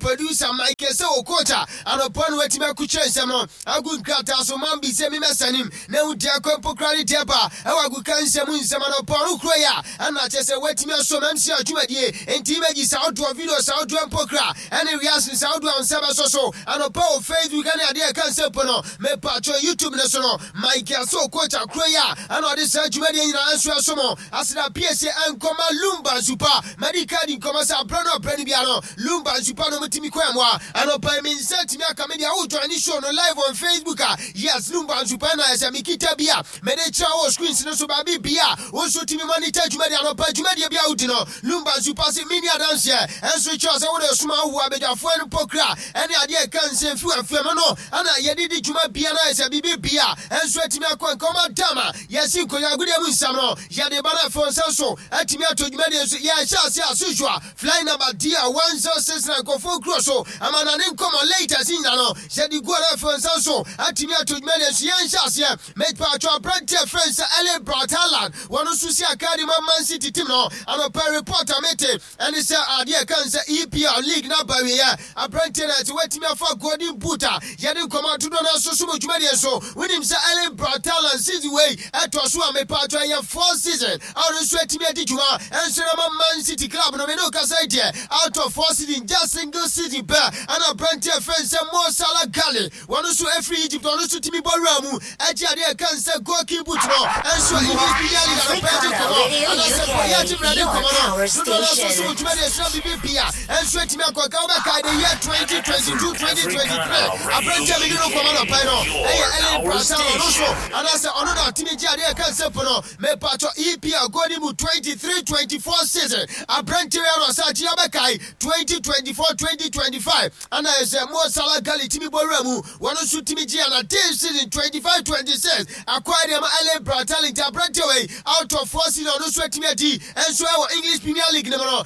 Producer Michael sɛ wɔ coach a anɔpa no watumi akukyerɛ nsɛm no agu nkrataa so man bi sɛ memɛsanim na hu deɛ kɔ mpo kora ne deɛ ba ɛwɔ aguka nsɛm nsɛm anɔpa no kuro yi a ɛna kyɛ sɛ watumi asom MC adwumadie nti image saa wodoɔ video saa wodoɔ mpo kora ɛne reaction saa wodoɔ a nsa bɛsɔ so anɔpa wɔ Facebook ɛne adeɛ ɛka nsɛm po no mepatwɔ YouTube ne so no. Michael sɛ wɔ coach akoro yi a ɛna ɔde saa dwumadie nyinaa nso ɛsom aseda piesie ɛnkɔma Lumba Nsupa. Madi ka di nkɔmɔ sɛ abrɛ no abrɛ no bia no Lumba Nsupa no mutumi kɔ ɛmoa anɔpa yi me nsa tumi aka me deɛ. Wo join ne show no live on Facebook a, yes, Lumba Nsupa na ɛsɛ mekita bi a mede kyerɛ wɔ screens no so baabi bia wo nso tumi monitor dwumadie anɔpa dwumadie bi a wodi no. Lumba Nsupa se menni adanseɛ ɛnso kyerɛ sɛ wode soma awo abadwafoɔ no pokra ɛne adeɛ ɛka nsɛm fi wafam no ana yɛde di dwuma bia na ɛsɛ biribi bia ɛnso atumi akɔ nkɔma dama yɛsi nkonnwa mu nsɛm no yɛde ba no afei nsa so atumi ato dwumadie nso yɛhyɛ ase as usual. Flight number DR 1069 nkɔfoɔ kuro so ama na ne nkɔmmɔ latest nyina no yɛde gu ɔno afei nsa so atumi ato dwumadie nso yɛnhyɛ aseɛ. Mepatwɔ aberanteɛ frɛ sɛ Erling Braut Haaland, wɔno nso si akadi ma Man City team no. Anɔpɛ report a mete ɛne sɛ adeɛ kan sɛ EPL league na aba wieɛ, aberanteɛ no ɛsɛ watumi afa golden boot a yɛde nkɔmmɔ atodoɔ no aso so mu dwumadie so. Wonim sɛ Erling Braut Haaland season wei ɛtɔ so a mepatwɔ ɛyɛ fourth season a ɔno nso atumi adi dwuma ɛnso na ma Man City club no. Me ne kasa yi deɛ, out of four season, just single season pɛ ɛna aberanteɛ frɛ sɛ Mo Salah Gali, wɔno nso ɛfiri Egypt, ɔno nso tumi bɔ wura mu ɛgye adeɛ ɛka sɛ golden boot no ɛnso English Premier League anɔpɛ agye nkɔmmɔ anaasɛ bɔyɛ agye mmerɛ nkɔmmɔ no dodoɔ no nso so dwumadie sena biribi bia ɛnso atumi akɔka. Wobɛkae the year 2022 2023, aberanteɛ mede no nkɔmmɔ nɔpɛ no ɛyɛ Erling Braut Haaland, ɔno nso anaasɛ ɔno na atumi gye adeɛ ɛka sɛ po no mepatɔ EPL golden boot 23 24 season. Aberanteɛ yɛ no ɔsɛ akyi abɛkae 2024 2025 ana ɛsɛ Mo Salah Gali tumi bɔ wura mu, wɔno nso tumi gye ana this season 25 26 akɔɛ deɛ ma Erling Braut Haaland. Nti aberanteɛ wei, out of four season, ɔno nso atumi adi ɛnso ɛwɔ English Premier League no mu no.